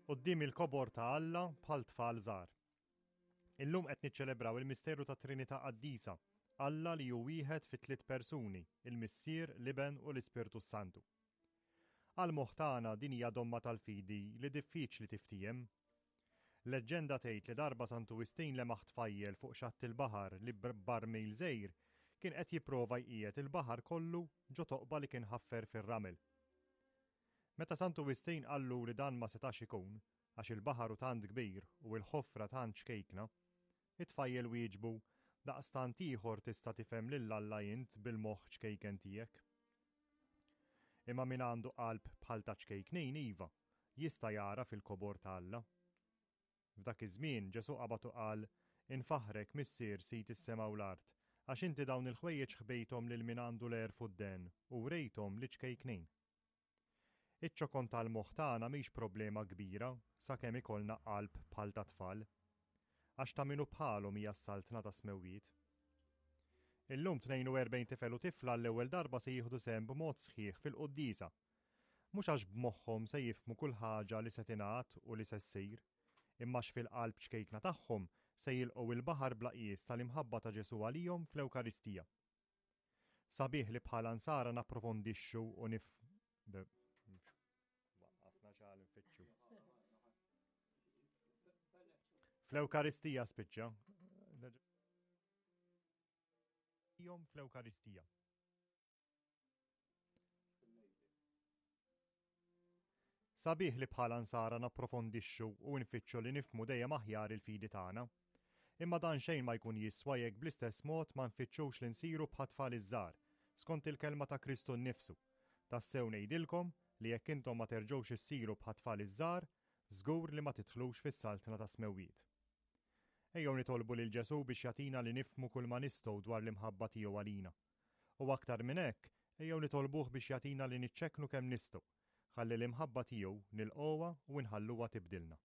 Quddiem il-kobor ta' Alla bħal tfal żgħar. Illum qed niċċelebraw il-misteru tat-Trinità Qaddisa, Alla li hu wieħed fi tliet persuni, il-Missier, l-Iben u l-Ispirtu s-Santu. Għall-moħħ tagħna din hija domma tal-fidi li diffiċli tiftiehem. Leġġenda tgħid li darba Santu Wistin lemaħ tfajjel fuq xatt il-baħar li b'barmil żgħir kien qed jipprova jqiegħed il-baħar kollu ġo toqba li kien ħaffer fir-ramel. Meta Santu Wistin qallu li dan ma setax ikun, għax il-baħar hu tant kbir u l-ħofra tant ċkejkna, it-tfajjel wieġbu, Daqstant ieħor tista' tifhem lil Alla int bil-moħħ ċkejken tiegħek. Imma min għandu qalb bħal ta' ċkejknin iva, jista' jagħraf il-kobor ta' Alla. F'dak iż-żmien Ġesù qabad u qal, Infaħħrek, Missier, Sid is-sema u l-art, għax inti dawn il-ħwejjeġ ħbejthom lil min għandu l-għerf u d-dehen, u wrejthom liċ-ċkejknin. Iċ-ċokon tal-moħħ tagħna mhix problema kbira sakemm ikollna qalb bħal tat-tfal. Għax ta' min hu bħalhom hija s-saltna tas-smewwiet. Illum 42 tifel u tifla għall-ewwel darba se jieħdu sehem b'mod sħiħ fil-quddiesa. Mhux għax b'moħħhom se jifhmu kull ħaġa li se tingħad u li se ssir, imma għax fil-qalb ċkejkna tagħhom se jilqgħu il-baħar bla qies tal-imħabba ta' Ġesù għalihom fl-Ewkaristija. Sabiħ li bħala nsara napprofondixxu u nif Waqqafna xagħal nfittxu. Fl-Ewkaristija spiċċa. Jom fl-Ewkaristija. Sabiħ li bħala Nsara napprofondixxu u nfittxu li nifhmu dejjem aħjar il-fidi tagħna. Imma dan xejn ma jkun jiswa jekk bl-istess mod ma nfittxux li nsiru bħat-tfal iż-żgħar, skont il-kelma ta' Kristu nnifsu, Tassew ngħidilkom li jekk intom ma terġgħux issiru bħat-tfal iż-żgħar, żgur li ma tidħlux fis-saltna tas-smewwiet. Ejjew nitolbu lil Ġesù biex jagħtina li nifhmu kulma nistgħu dwar l-imħabba tiegħu għalina. U aktar minn hekk, ejjew nitolbuh biex jagħtina li niċċekknu kemm nistgħu, ħalli l-imħabba tiegħu nilqgħuha u nħalluha tibdilna.